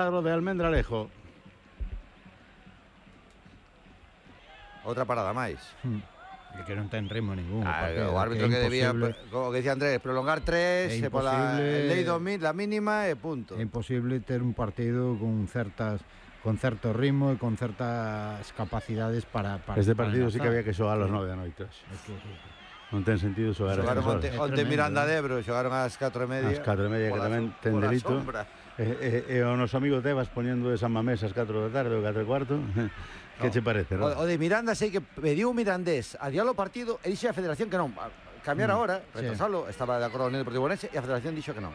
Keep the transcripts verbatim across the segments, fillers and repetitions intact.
de Almendralejo. Outra parada máis. Hmm. É que non ten ritmo ningún. Ah, o árbitro que, que debía, como que decía Andrés, prolongar tres e pola lei do mil, la mínima e punto. É imposible ter un partido con certas con certo ritmo e con certas capacidades para, para este partido para sí que había que xogar a las nove da noite. Es que, non ten sentido xogar a xogaron onte, horas. onte Miranda de Ebro, xogaron ás catro e media. Ás catro e media, que tamén ten delito. E, e, e o noso amigo Tebas poñendo de San Mamés ás catro da tarde ou catro e cuarto. Que no. Che parece, non? O, o de Miranda sei que pediu un mirandés a diálogo partido e dixe a Federación que non. Cambiar mm, agora, retrasalo, sí. Estaba de acordo con el Deportivo Orense e a Federación dixo que non.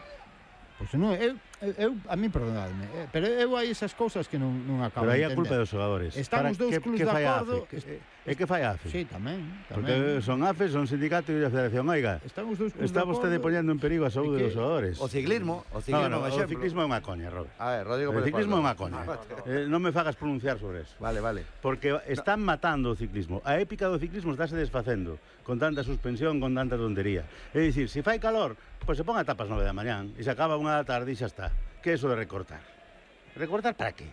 Pois pues non, eu, eu, a mí perdonadme, eh, pero eu hai esas cousas que non, non acabo de entender. Pero aí a culpa dos xogadores. Estamos dous clubes de acordo. É que fai a F E? Sí, tamén, tamén. Porque son A F E, son sindicato e a Federación. Oiga, estamos dous clubes está vostede poñendo en perigo a saúde dos xogadores. O ciclismo, o ciclismo, no, no, o ciclismo é unha coña, Robert. A ver, Rodrigo, o ciclismo é unha coña. eh, non me fagas pronunciar sobre eso. Vale, vale. Porque están matando o ciclismo. A épica do ciclismo estáse desfacendo con tanta suspensión, con tanta tontería. É dicir, se fai calor, pois se pon a tapas nove da mañán e se acaba unha da tarde e xa está. Que é eso de recortar? Recortar para qué?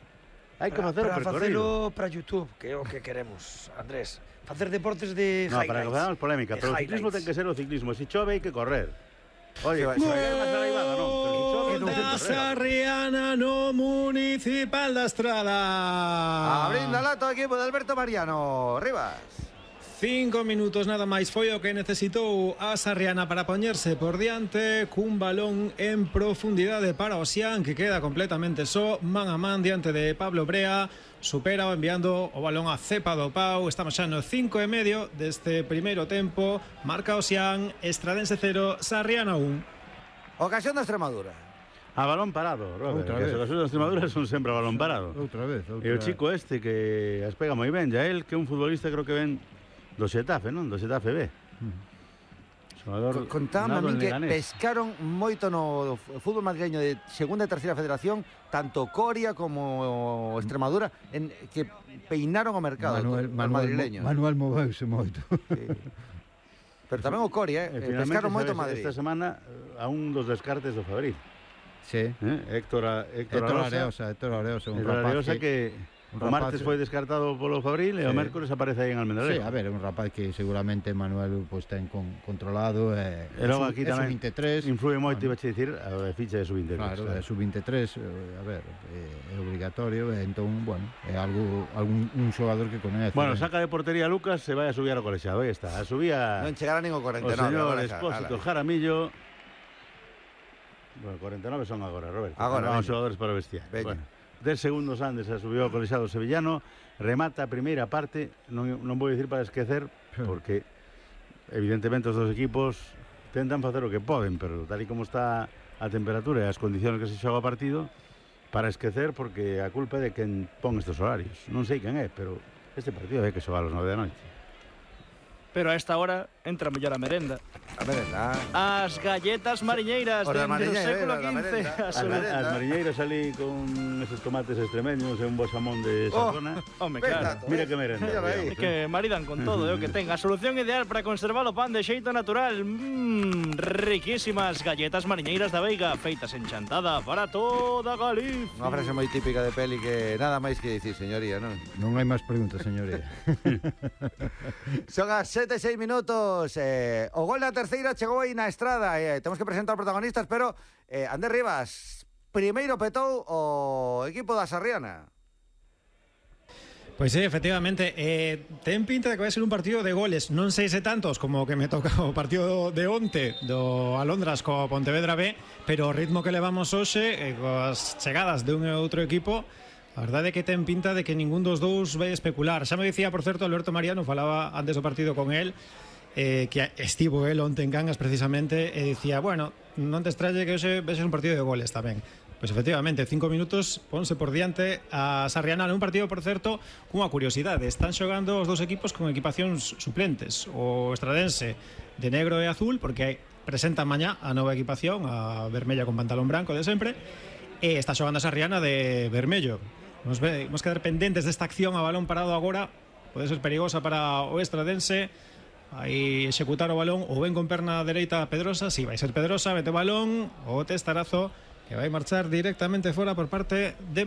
Hai que facer o percorrido. Para YouTube, que é o que queremos, Andrés. Facer deportes de no, highlights. No, para que facamos polémica, pero o ciclismo ten que ser o ciclismo. Se chove hai que correr. Oye, vai, se vai máis arribada, non? Pero se chove non ten que correr. Sarriana no Municipal da Estrada. Abrindo a lata o equipo de Alberto Mariano. Rivas. Cinco minutos nada máis foi o que necesitou a Sarriana para poñerse por diante cun balón en profundidade para Osián, que queda completamente só, man a man diante de Pablo Brea. Supera enviando o balón a Cepa do Pau. Estamos xa no cinco e medio deste primeiro tempo. Marca Osián, Estradense cero, Sarriana un. Ocasión da Extremadura. A balón parado, Robert. Outra vez. As ocasións da Extremadura son sempre a balón parado. Outra vez, outra. E o chico este que as pega moi ben, ya él, que é un futbolista creo que ven do Xetafe, non? Do Xetafe B. Mm. Contábame a min que pescaron moito no fútbol madrileño de segunda e terceira federación, tanto Coria como Extremadura, en que peinaron o mercado Manuel, o Manuel, madrileño. Manuel moveuse moito. Sí. Pero tamén o Coria, eh, eh pescaron moito Madrid. Esta semana a un dos descartes do Fabril. Sí. Eh? Héctor, Héctor, Héctor Areosa, Héctor Areosa, un Héctor rapaz Areosa que, que o martes foi descartado polo Fabril e sí. O mércores aparece aí en Almendralejo. Sí, a ver, é un rapaz que seguramente Manuel pues, ten con, controlado e, e logo aquí é tamén vinte e tres influe moito, iba a dicir, a ficha de sub vinte e tres. Claro, é sub vinte e tres, a ver, é, é obligatorio, e entón, bueno, é algo algún un xogador que coñece. Bueno, saca de portería Lucas, se vai a subir ao colexado, aí está, a subía non chegará nin o cuarenta e nove. O señor Expósito Jaramillo. Bueno, cuarenta e nove son agora, Roberto. Agora, vamos xogadores para o vestiario. Bueno, dez segundos antes se subiu ao colexado sevillano, remata a primeira parte, non, non vou dicir para esquecer, porque evidentemente os dos equipos tentan facer o que poden, pero tal e como está a temperatura e as condicións que se xoga o partido, para esquecer, porque a culpa é de quen pon estes horarios. Non sei quen é, pero este partido hai que xogar a las nove da noite. Pero a esta hora entra mellor a merenda. A merenda. As galletas mariñeiras o dende o século quince. Merenda, as, as mariñeiras ali con esos tomates extremeños e un bo xamón de Sazona. Oh, home, claro. Mira que merenda. É que maridan con todo, é o que ten. A solución ideal para conservar o pan de xeito natural. Mmm, riquísimas galletas mariñeiras da Veiga, feitas en chantada para toda Galicia. Unha frase moi típica de peli que nada máis que dicir, señoría, non? Non hai máis preguntas, señoría. Son as sete e seis minutos. Eh, o gol na terceira chegou aí na Estrada. Eh, temos que presentar protagonistas, pero eh, Andrés Rivas, primeiro petou o equipo da Sarriana. Pois sí, efectivamente, eh, ten pinta de que vai ser un partido de goles. Non sei se tantos como que me toca o partido de onte do Alondras co Pontevedra B, pero o ritmo que levamos hoxe, eh, coas chegadas de un e outro equipo, a verdade é que ten pinta de que ningún dos dous vai especular. Xa me dicía, por certo, Alberto Mariano, falaba antes do partido con él, eh, que estivo el onte en Cangas precisamente, e dicía, bueno, non te estralle que hoxe ves un partido de goles tamén. Pois efectivamente, cinco minutos, ponse por diante a Sarriana, un partido, por certo, cunha curiosidade. Están xogando os dous equipos con equipacións suplentes. O Estradense de negro e azul, porque presenta mañá a nova equipación, a vermella con pantalón branco de sempre, e está xogando a Sarriana de vermello. Nos vemos quedar pendentes desta acción a balón parado agora. Pode ser perigosa para o Estradense. Aí executar o balón ou ven con perna dereita Pedrosa. Si, sí, vai ser Pedrosa, mete o balón, o testarazo que vai marchar directamente fora por parte de